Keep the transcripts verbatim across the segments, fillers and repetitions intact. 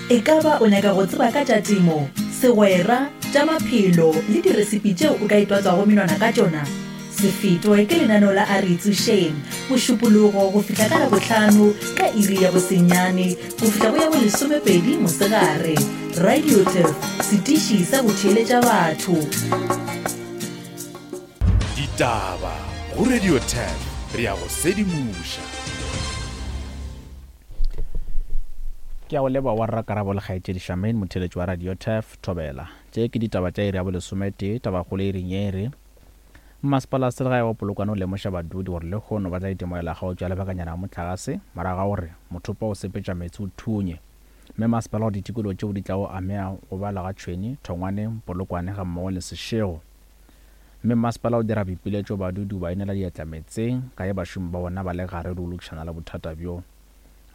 E ka ba o nyaka go tseba ka tša temo, segwera, tša maphelo le diresipi tšeo o ka itwatswago menwana ka tšona? Se fetwe ke lenaneo la A Re Itsošeng, Mošupologo go fihla ka Labohlano ka iri ya bosenyane go fihla go ya bolesomepedi mosegare. Radio Turf, setiši sa go theeletša batho. Ditaba go Radio Turf, re ya go sedimoša. Ke a go leboga wa rrakarabo le kgaetšedi Charmaine, motheeletši wa Radio Turf, Thobela. Tše ke ditaba tša iri ya bolesometee, tabakgolo e reng ye e re, Mmasepala wa selegae wa Polokwane o lemoša badudi gore lehono ba tla itemogela kgaotšo ya lebakanyana ya mohlagase morago ga gore mothopo wa go sepetša meetse o thunye. Mme masepala gore ditikologo tšeo di tlago amega go bala ga Tšhweni, Thongwane, Polokwane gammogo le Seshego. Mme masepala o dira boipiletšo badudi ba inela diatla meetseng ka ge bašomi ba bona ba le gare le go lokišana le bothata bjo.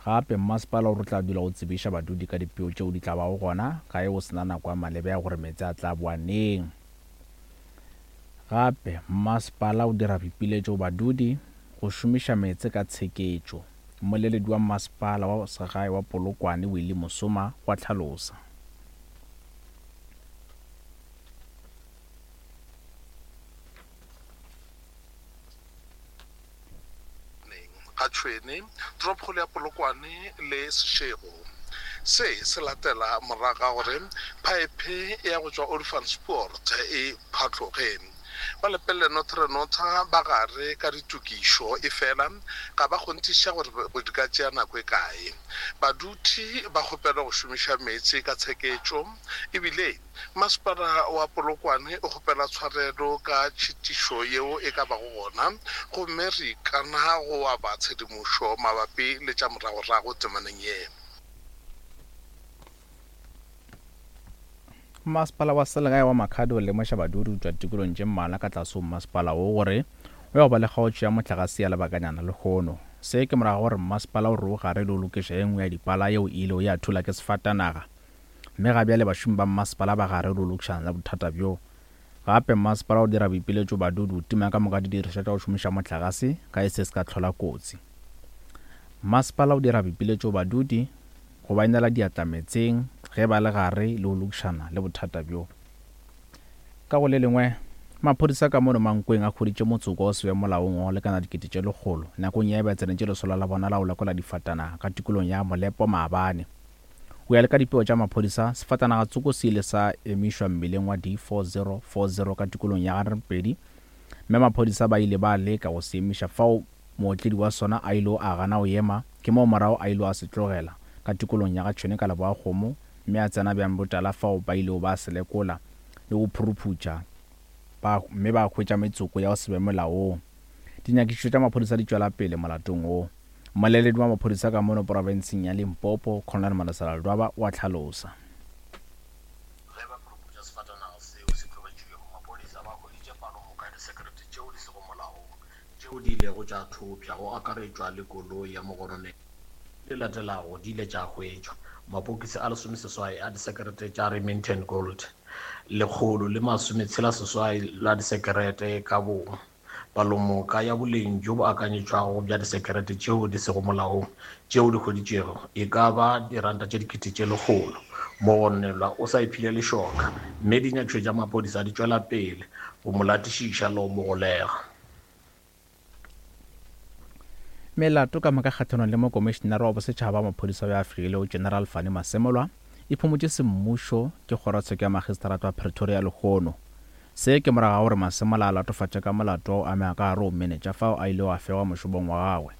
Gape mmasepala o re tla dula o tsebiša badudi ka dipeo tšeo di tla bago gona ka ge o sena nako ya maleba ya gore meetse a tla boa neng. Gape mmasepala o dira boipiletšo badudi go šomiša meetse ka tsheketšo. Mmoleledi wa mmasepala wa segae wa Polokwane Willie Mosoma wa hlalosa. Ga Tšhwene, toropokgolo ya Polokwane le Seshego. Se se latela morago ga gore phaephe ya go tšwa Olifantspoort e phatloge. Ba Lepelle Northern Notha ba gare ka ditokišo efela ga ba kgonthiša gore di ka tšea nako e kae. Badudi ba kgopelwa go šomiša meetse ka tsheketšo ebile masepala wa Polokwane o kgopela tshwarelo ka tšhitišo yeo e ka bago gona, gomme re ikana go aba tshedimošo mabapi le tša moragorago temaneng ye. Mmasepala wa selegae wa Makhado o lemoša badudi go tšwa tikolong tše mmalwa ka tlase ho mmasepala wo gore o ya go ba le kgaotšo ya mohlagase ya lebakanyana lehono. Se ke morago gore mmasepala o re o gare le go lokiša ye nngwe ya dipala yeo e ilego ya thula ke sefatanaga. Mme ga bjale bašomi ba mmasepala ba gare le go lokišana le bothata bjo. Gape mmasepala o dira boipiletšo badudi go tima ka moka didirišwa tša go šomiša mohlagase ka e se se ka hlola kotsi. Mmasepala o dira boipiletšo badudi go ba inela diatla meetseng ge ba le gare le go lokišana le bothata bjo. Ka go le lengwe, maphodisa ka mono Mankweng a hweditše motsoko wa se be molaong wa go lekana dikete tše lekgolo nakong ya ba tsenetše lesolo la bona la go lekola difatanaga ka tikolong ya Molepo maabane. Go ya le ka dipeo tša maphodisa, sefatanaga tsoko se ile sa emišwa mmileng wa D four zero four zero ka tikolong ya Garepedi, mme maphodisa ba ile ba leka go se emiša fao mootledi wa sona a ile a gana go ema, ke moo morago a ile a se tlogela ka tikolong ya ga Tšhwene ka leboa kgomo, mme a tsena bjang botala fao ba ilego ba se lekola le go phuruphutša ba mme ba hwetša metsoko ya go se be molaong. Dinyakišišo tša maphodisa di tšwela pele molatong wo. Mmoleledi wa maphodisa ka mono profenseng ya Limpopo, Colonel Malesela Ledwaba, o a hlalosa. Ge ba phuruphutša sefatanaga seo se tlogetšwego, maphodisa ba hweditše palomoka ya disekerete tšeo di sego molaong tšeo di ilego tša thopša, go akaretšwa le koloi ya mogononelo. Di latelago di ile tša hwetšwa: mapokisi a lesomeseswai a disekerete tša Remington Gold, lekgolo le masometshela seswai la disekerete ka bong, palomoka ya boleng bjo bo akanyetšwago bja disekerete tšeo di sego molaong tšeo di hweditšwego e ka ba diranta tše dikete tše lekgolo. Mogononelwa o sa iphile lešoka, mme dinyakišišo tša maphodisa di tšwela pele go mo latišiša le go mo golega. Melato ka moka kgahlanong le mokomišenare wa bosetšhaba wa maphodisa wa Afrika General Fannie Masemola e phumotše semmušo ke kgorotsheko ya magistrata wa Pretoria lehono. Se ke morago ga gore Masemola a latofatše ka molato wa go amega ka gare go menetša fao a ilego a fegwa mošomong wa gagwe.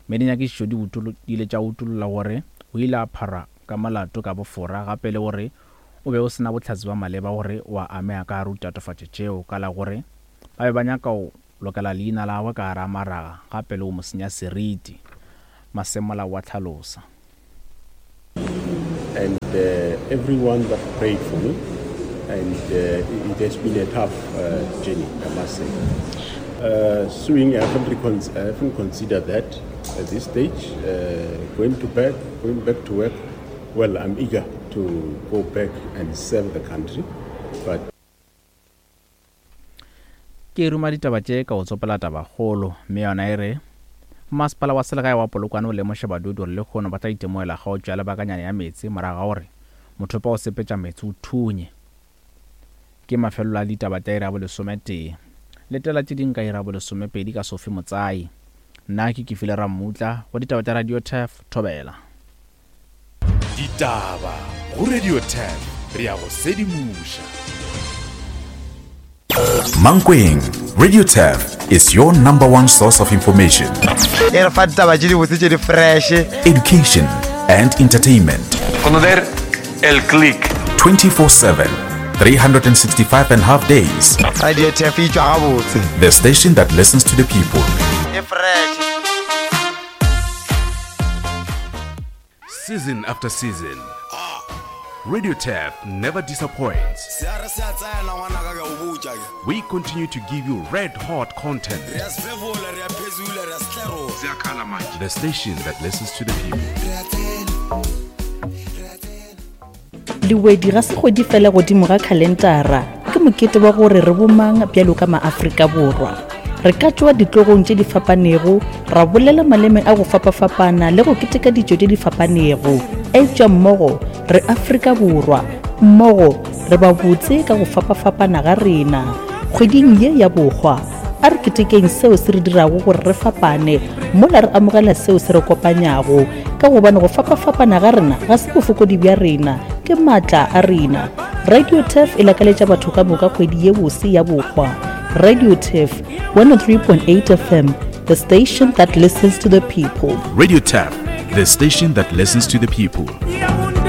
Mme dinyakišišo di di ile tša utolla gore o ile a pharwa ka molato ka bofora, gape le gore o be o sena bohlatse bja maleba gore o a amega ka gare go ditatofatšo tšeo, ka la gore ba be ba nyaka go lokela leina la gagwe ka gare a maraga gape le go mo senya seriti. Masemola wa hlalosa. And uh, everyone that prayed for me, and uh, it has been a tough uh, journey, I must say. Uh, suing, I haven't, recon- I haven't considered that at this stage. Uh, going to back, going back to work, well, I'm eager to go back and serve the country, but Ke ruma ditaba tše ka go tsopela tabakgolo, mme yona e re Masepala wa selegae wa Polokwane o lemoša badudi gore lehono ba tla itemogela kgaotšo ya lebakanyana ya meetse morago ga gore mothopo wa go sepetša meetse o thunye. Ke mafelelo a ditaba tša iri ya bolesometee. Letela tše ding ka iri ya bolesomepedi ka Sophie Motsai. Nna ke Kefile Rammutla go ditaba tša Radio Turf Thobela. Ditaba go Radio Turf re ya go sedimoša. Mankweng, Radio Turf is your number one source of information. E re fa ditaba tše dibotse tše di fresh. Education and entertainment. Conocer el click. twenty-four seven, three hundred and sixty-five and a half days. Radio Turf e tšwa gabotse. The station that listens to the people. E fresh. Season after season, Radio Turf never disappoints. We continue to give you red hot content. The station that listens to the people. Lewedi ga se kgwedi fela godimo ga khalentara, ke mokete wa gore re bomang bjalo ka maAfrika Borwa. Re ka tšwa ditlogong tše di fapanego, ra bolela maleme a go fapafapana le go keteka ditšo tše di fapanego. Eupša mmogo re Afrika Borwa, mmogo re ba botse ka go fapafapana ga rena. Kgweding ye ya bohwa, a re ketekeng seo se re dirago gore re fapane, mola re amogela seo se re kopanyago, ka gobane go fapafapana ga rena ga se bofokodi bja rena, ke maatla a rena. Radio Turf e lakaletša batho ka moka kgwedi ye bose ya bohwa. Radio Turf one oh three point eight F M, the station that listens to the people. Radio Turf, the station that listens to the people.